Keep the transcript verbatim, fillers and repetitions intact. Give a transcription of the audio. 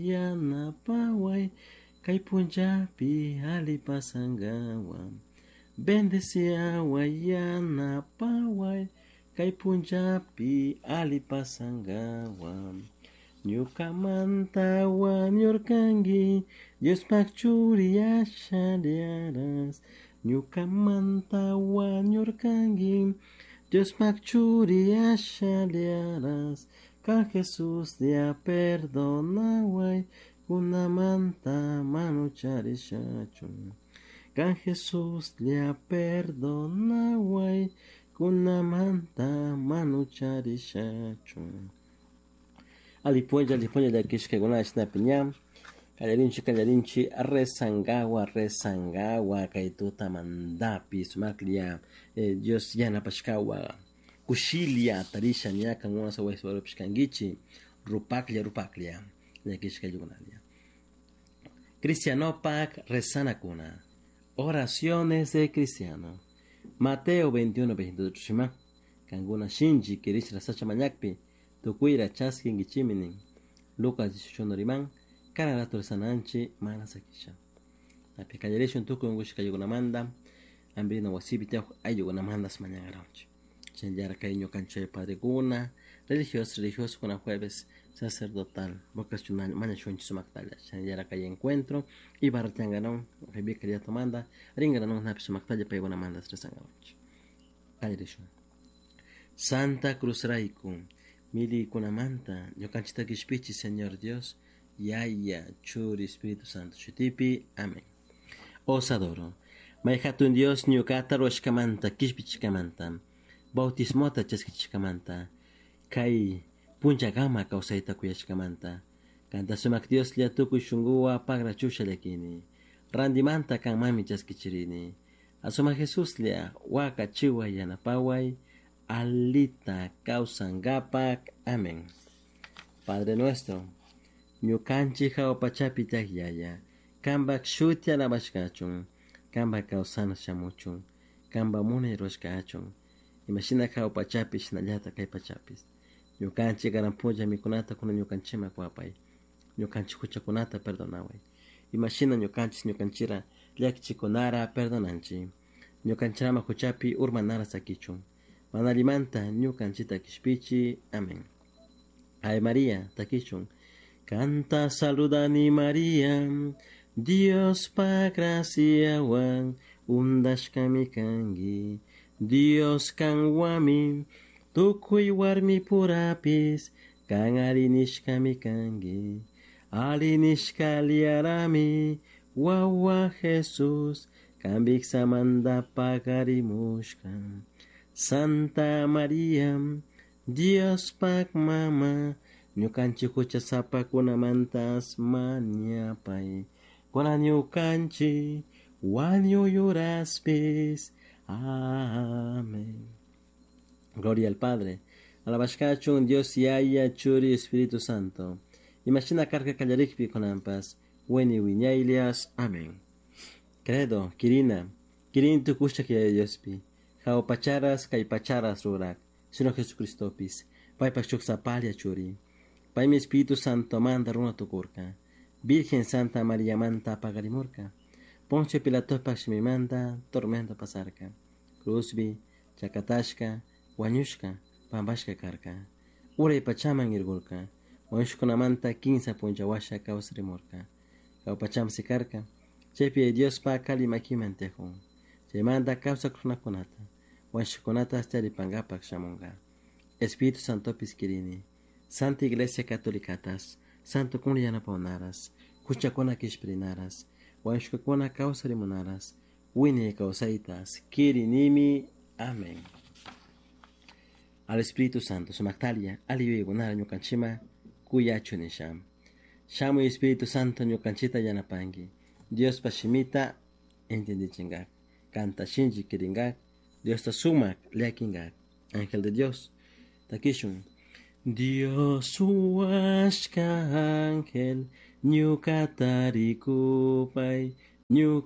Yanapaway kay punllapi ali pasankawa. Bendeciaway yanapaway kay punllapi ali pasankawa. Ñukamanta wañurkanki Diospak churi ashaliaras. Ñukamanta wañurkanki Diospak churi ashaliaras. Kan Jesuslla perdonaway kunamanta manucharishachu. Kan Jesuslla perdonaway kunamanta manucharishachu. Alipunlla, alipunlla llakishkakuna shinapi ña kallarinchi kallarinchi rezangawa rezangawa kay tutamantapi sumaklla eh, Dios yanapashkawa kushilla tarisha ña kankuna wasi kankichik rupaklla rupaklla llakishkaykunalla. Cristianopak rezanakuna. Oraciones de cristiano. Mateo veintiuno veintiocho shima. Kankuna shinchi kirish rasacha mañakpi tukuyra chaskinkichiminin. Lucas dieciocho riman kana rato rezananchi mana sakisha. Api kallarishun tukuy unkushkaykunamanta ampirina wasipi tiyak ayllukunamantas mañankaranchik. Chayara kay ñukanchik padrekuna, religiosos, religiosokuna jueves sacerdotal, vocacional, mañashunchik sumaktalla. Chayara kay encuentro y barra tiangaron, vicariatomanta, ringaron napi sumaktalla paykunamantas rezankaranchik. Kallarishun. Santa Cruz rayku, millaykunamanta ñukanchikta kishpichi Señor Dios, Yaya, Churi, Espíritu Santo shutipi. Amén. Os adoro. May hatun Dios ñukata ruwashkamanta, kishpichishkamanta, bautismota chaskichishkamanta, kay punllakama kawsayta kuyashkamanta, kanta sumak Dioslla tukuy shunkuwan pagrachusha llakini, randimanta kanmanmi chaskichirini. Asumak Jesuslla wakachiway yanapaway, alita kawsankapak. Amén. Padre nuestro, ñukanchik hawa pachapi tiyak Yaya, kanpak shuti alabashkachun, kanpak kawsana shamuchun, kanpak munay rurashka kachun, imashina hawa pachapi shinallatak kay pachapis. Ñukanchik karan punlla mikunata kunan ñukanchikman kuwapay, ñukanchik huchakunata perdonaway, imashina ñukanchik ñukanchira llakichikunara perdonanchik, ñukanchirama huchapi urmanara sakichun, mana allimanta ñukanchikta kishpichi. Amén. Ave María, takichun. Kanta saludani María, Diospak graciawan undashkami kanki, Dios kanwami, tukuy warmi purapis, kan ari nishkami kanki, ari nishkaliarami, wawa Jesús, kan viksamanta pagarimushka. Santa María, Diospak mama, ñukanchik huchasapakunamantas mañapay, kunan ñukanchik wañuy uraspis. Amén. Gloria al Padre, alabashkachun Dios Yaya, Churi, Espíritu Santo. Imashina karka kallarikpi kunanpas, wiñay wiñaylias. Amén. Credo, Kirina, Kirin tukushak Yaya Diospi, hawa pacharas kay pacharas rurak, Señor Jesucristopis, paypak shuk sapalla churi. Paymi Espíritu Santo manta runa tukurka, Virgen Santa María manta pagarimurka, Poncio Pilatopak shimimanta tormento pasarka, cruzbi, chakatashka, wañushka, pampashka karka, uray pachaman irgurka, wañushkunamanta kinsa punlla washa kawsarimurka, hawa pachaman sikarka, chaypi Diospa kali makiman tiyakun, chaymanta kawsak runakunata, wañushkakunata charipankapak shamunka. Espíritu Santopis kirini, Santa Iglesia Catolicatas, Santo kun yanapawnaras, huchakuna kishpirinaras, wañushkakuna kawsarimunaras, wiñay kawsaytas, kirinimi. Amén. Al Espíritu Santo, sumaktalia, ali yuyaykunara ñukanchikman kuyachu nisha. Shamuy Espíritu Santo ñukanchikta yanapanki, Diospa shimita entendichinkak, kanta shinchi kirinkak, Diosta sumak llakinkak. Ángel de Dios, takishun. Dios huashka ángel, ñukata rikupay, ñuka